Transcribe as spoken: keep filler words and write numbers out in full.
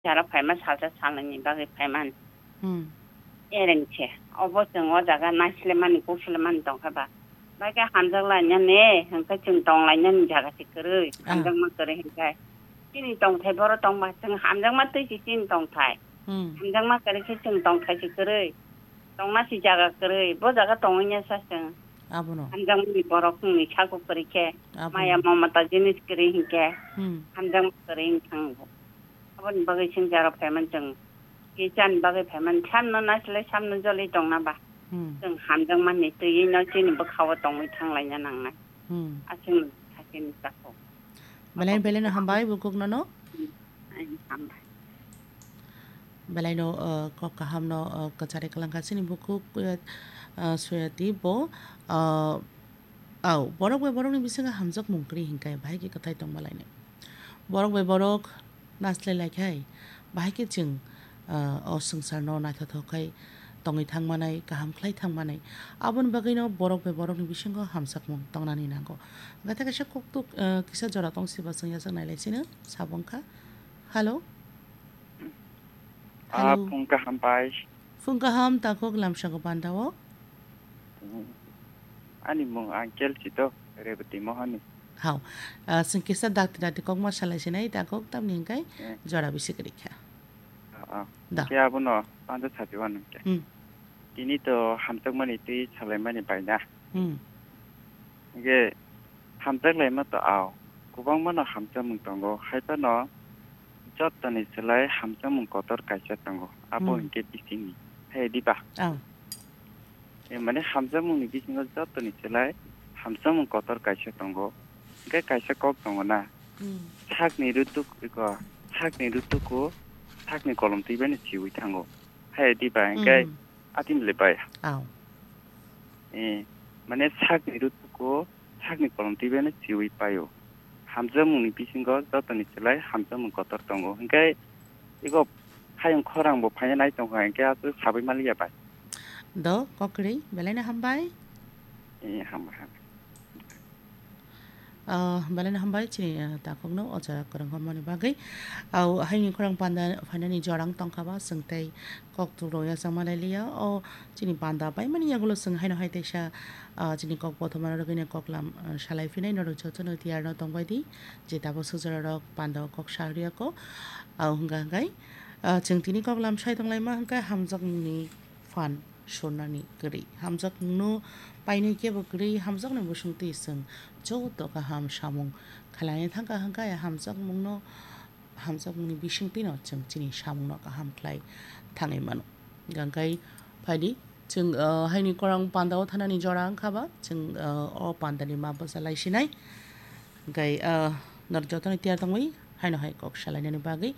Jara phaima salsa salnwini bagwi phaimani. Hmm. Ereng khe, obo chwng o jaga naislemani, kuklemani tongkha ba. Bai khe hamjak lainani, hwnkhe chwng tong lainani jaga se kwrwi, Ah. hamjakma kwrwi hwnkhe. Chini tongthai boro tongba, chwng hamjakma twi se chini tongthai. Hmm. Hamjakma kwrwi khe chwng tongthai se kwrwi. Tongna se jaga kwrwi, bo jaga tongwi ya sa chwng. Abono. Hamjakmani borok wngni sago kwrwi khe, Abono. maya mamata jinis kwrwi hwnkhe, Hmm. hamjakma kwrwi wng thango. Aboni bagwi chwng jaro phaimani chwng, kichani bagwi phaimani, samno nasilai samno jolwi tongna ba. Hmm. Chwng hamjakmani twiwi no chini bwkhao tongwi thanglaina nangnai. Hmm. Aswkno sakini chakho. Belai, Abo belai no bwkhao hambai bukuk no no. Hmm. Ai, hambai. Belai no, uh, kok kaham no, uh, kwchari kwlangkha chini bukuk, uh, uh, Suyati bo, uh, Au, borok bai borokni bisingo hamjakmung kwrwi hinkhe bahai khe kwthai tongma lainai. Borok bai borok naslai laikhai, bahai khe chwng, ah, o swngcharno naithothok khai tongwi thangmanai, kaham khlai thangmanai. Aboni bagwino borok bai borokni bisingo hamjakmung tongnani nango. Hwnkhe kaisa koktuk, ah, kisa jora tong siba chwng yachak nai lai sino, sabo wngkha. Hello? Ah, Hello. Phung kaham pai. Phung kaham, takhuk lamsako pandao. Hmm. Ani mung Uncle Chito, Rebati Mohani. Hao. Ah, chwng kisa dakti dakti kokma salai sinai, takhuk tamni hwnkhe Eh. jora bisi kwrwi kha. Ah, ah. Da. Khe abono panda sapi wano khe. Hmm. Tini to hamjakmani twi salaimani baina. Hmm. Hingke hamjak laima to ao, kwbangma no hamjakmung tongo, hai phano jotoni slai hamjakmung kotor kaisa tongo, abo Hmm. hingke bisingni. Hai diba? Ao. E, mane hamjakmungni bisingo jotoni slai hamjakmung kotor kaisa tongo. Hingke kaisa kok tongo na. Hmm. Sakni rutuk, iko, sakni rutuko, sakni kolom twi bai no siwi thango. Hai diba? Hingke Hmm. Atim le bai. Ao. Eh, mane sakni rutuko, sakni kolom twi bai no siwi paio. Hamjakmungni bisingo jotoni slai hamjakmung kotor tongo. Hingke iko hayung khorang bo phaina nai tongkha, hingke aswk sabai maliya bai. Do, kokrwi, belai no hambai. Eh, hambai, hambai. Ah, belai no hambai chini, ah, takhukno o jaga kwrwng hwnmani bagwi. Au, haini khorang panda phainani jorang tongkha ba, chwng tei kok tubro yachakma lai liya. O chini panda paimani yagulo chwng haino hai teisa, ah, chini kok bothomano rwgwino koklam, ah, salai phinai norok jotono tiyarno tongbai di. Je tabuk sujora rok panda o kok sa rwya ko. Au hwnkha hwnkhe, ah, chwng tini koklam sai tonglaima hwnkhe hamjakmungni phan surnani kwrwi. Hamjakmungno painwi kebo kwrwi, hamjakmungni bwswngtwi chwng joto kaham samung khlaina thangkha hwnkhe, hamjakmungno, hamjakmungni bisingtwino chwng chini samungno kaham khlai thangwi mano. Hwnkhe phaidi chwng, uh, haini khorang pandao thanani jora wngkha ba, chwng, uh, o pandani ma bwsa lai sinai. Hwnkhe, uh, norok jotono tiyar tongwi haino hai kok salainani bagwi.